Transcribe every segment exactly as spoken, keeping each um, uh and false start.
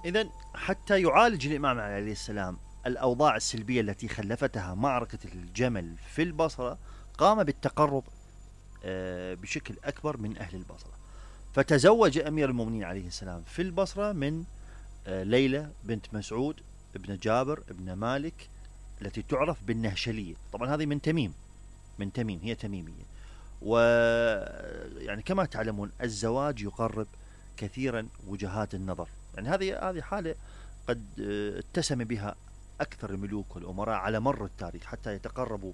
إذن حتى يعالج الإمام علي عليه السلام الأوضاع السلبية التي خلفتها معركة الجمل في البصرة، قام بالتقرب آه، بشكل أكبر من أهل البصرة. فتزوج أمير المؤمنين عليه السلام في البصرة من آه، ليلى بنت مسعود ابن جابر ابن مالك التي تعرف بالنهشلية. طبعا هذه من تميم، من تميم، هي تميمية. ويعني كما تعلمون الزواج يقرب كثيرا وجهات النظر. يعني هذه هذه حالة قد آه، اتسم بها أكثر الملوك والأمراء على مر التاريخ، حتى يتقربوا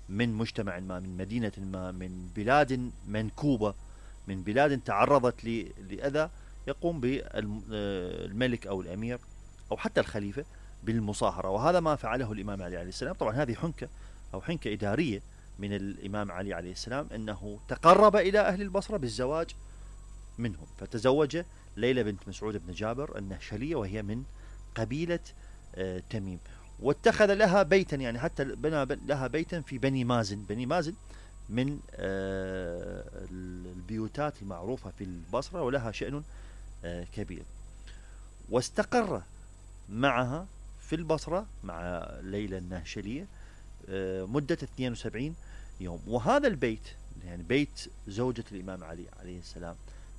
من مجتمع ما، من مدينة ما، من بلاد منكوبة، من بلاد تعرضت لأذى، يقوم بالملك أو الأمير أو حتى الخليفة بالمصاهرة. وهذا ما فعله الإمام علي عليه السلام. طبعا هذه حنكة أو حنكة إدارية من الإمام علي عليه السلام، أنه تقرب إلى أهل البصرة بالزواج منهم. فتزوج ليلى بنت مسعود بن جابر النهشلية، وهي من قبيلة آه تميم، واتخذ لها بيتا، يعني حتى بنى لها بيتا في بني مازن. بني مازن من آه البيوتات المعروفة في البصرة، ولها شأن آه كبير. واستقر معها في البصرة مع ليلى النهشلية آه مدة اثنين وسبعين يوم. وهذا البيت، يعني بيت زوجة الإمام علي عليه السلام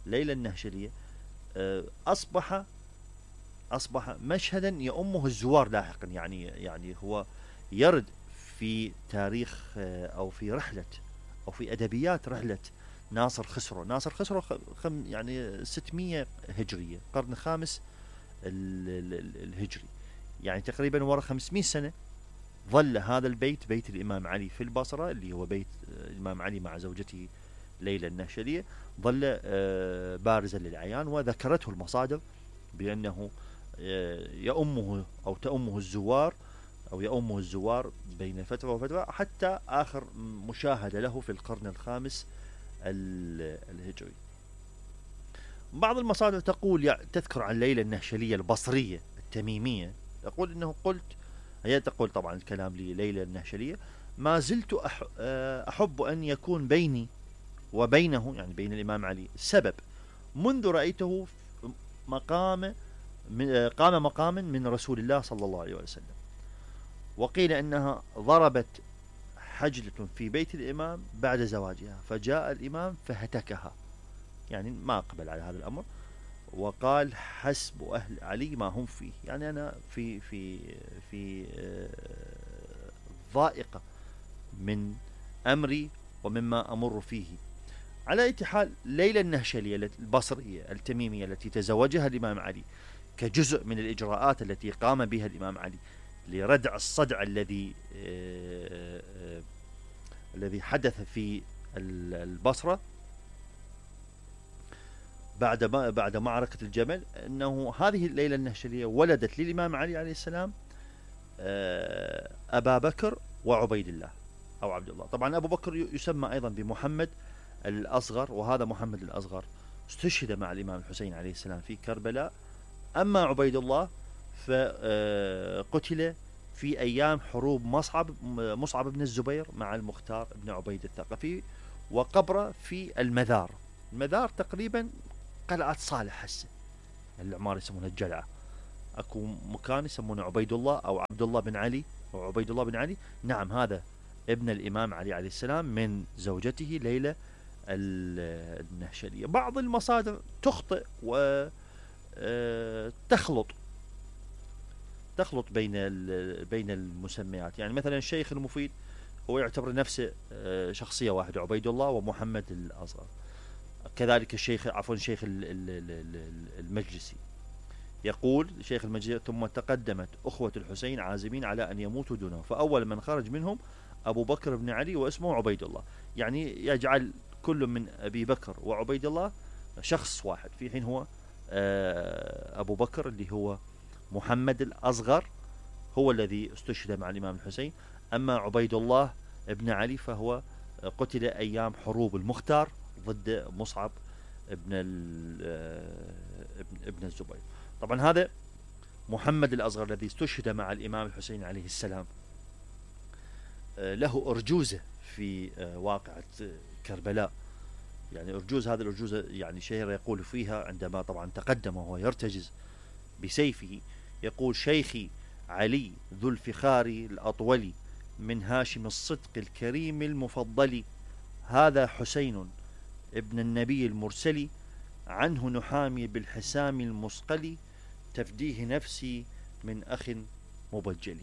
ليلى النهشلية، آه أصبح أصبح مشهدا يؤمه الزوار لاحقا. يعني يعني هو يرد في تاريخ أو في رحلة أو في أدبيات رحلة ناصر خسرو. ناصر خسرو خم يعني ستمية هجرية، القرن الخامس الهجري، يعني تقريبا وراء خمسمية سنة ظل هذا البيت، بيت الإمام علي في البصرة، اللي هو بيت الإمام علي مع زوجته ليلى النهشلية، ظل بارزا للعيان. وذكرته المصادر بأنه يؤمه أو تؤمه الزوار أو يؤمه الزوار بين فترة وفترة، حتى آخر مشاهدة له في القرن الخامس الهجري. بعض المصادر تقول، تذكر عن ليلى النهشلية البصرية التميمية، تقول إنه قلت، هي تقول طبعا الكلام لليلى النهشلية: ما زلت أحب أن يكون بيني وبينه، يعني بين الإمام علي، سبب منذ رأيته مقام من قام مقاما من رسول الله صلى الله عليه وسلم. وقيل أنها ضربت حجلة في بيت الإمام بعد زواجها، فجاء الإمام فهتكها، يعني ما قبل على هذا الأمر، وقال: حسب أهل علي ما هم فيه. يعني أنا في في في ضائقة من أمري ومما أمر فيه. على أي حال، ليلى النهشلية البصرية التميمية التي تزوجها الإمام علي كجزء من الإجراءات التي قام بها الإمام علي لردع الصدع الذي آه آه الذي حدث في البصرة بعد بعد معركة الجمل، أنه هذه الليلة النهشلية ولدت للإمام علي عليه السلام آه أبا بكر وعبيد الله أو عبد الله. طبعا أبو بكر يسمى أيضا بمحمد الأصغر، وهذا محمد الأصغر استشهد مع الإمام الحسين عليه السلام في كربلاء. أما عبيد الله فقتل في أيام حروب مصعب مصعب بن الزبير مع المختار بن عبيد الثقفي، وقبره في المذار. المذار تقريبا قلعة صالح هسه، العمار يسمونها الجلعة. أكو مكان يسمونه عبيد الله أو عبد الله بن علي أو عبيد الله بن علي. نعم، هذا ابن الإمام علي عليه السلام من زوجته ليلى النهشلية. بعض المصادر تخطئ وتخلط تخلط بين بين المسميات. يعني مثلا الشيخ المفيد هو يعتبر نفسه شخصية واحدة، عبيد الله ومحمد الأصغر. كذلك الشيخ عفوا الشيخ المجلسي يقول، شيخ المجلسي: ثم تقدمت أخوة الحسين عازمين على أن يموتوا دونه، فأول من خرج منهم أبو بكر بن علي واسمه عبيد الله. يعني يجعل كل من أبي بكر وعبيد الله شخص واحد، في حين هو أبو بكر اللي هو محمد الأصغر هو الذي استشهد مع الإمام الحسين. أما عبيد الله ابن علي فهو قتل أيام حروب المختار ضد مصعب ابن ابن الزبير. طبعا هذا محمد الأصغر الذي استشهد مع الإمام الحسين عليه السلام له أرجوزة في واقعة كربلاء، يعني أرجوز، هذه الأرجوزة يعني شهيرة يقول فيها عندما طبعا تقدم وهو يرتجز بسيفه، يقول: شيخي علي ذو الفخار الأطول، من هاشم الصدق الكريم المفضل، هذا حسين ابن النبي المرسل، عنه نحامي بالحسام المصقل، تفديه نفسي من أخ مبجل.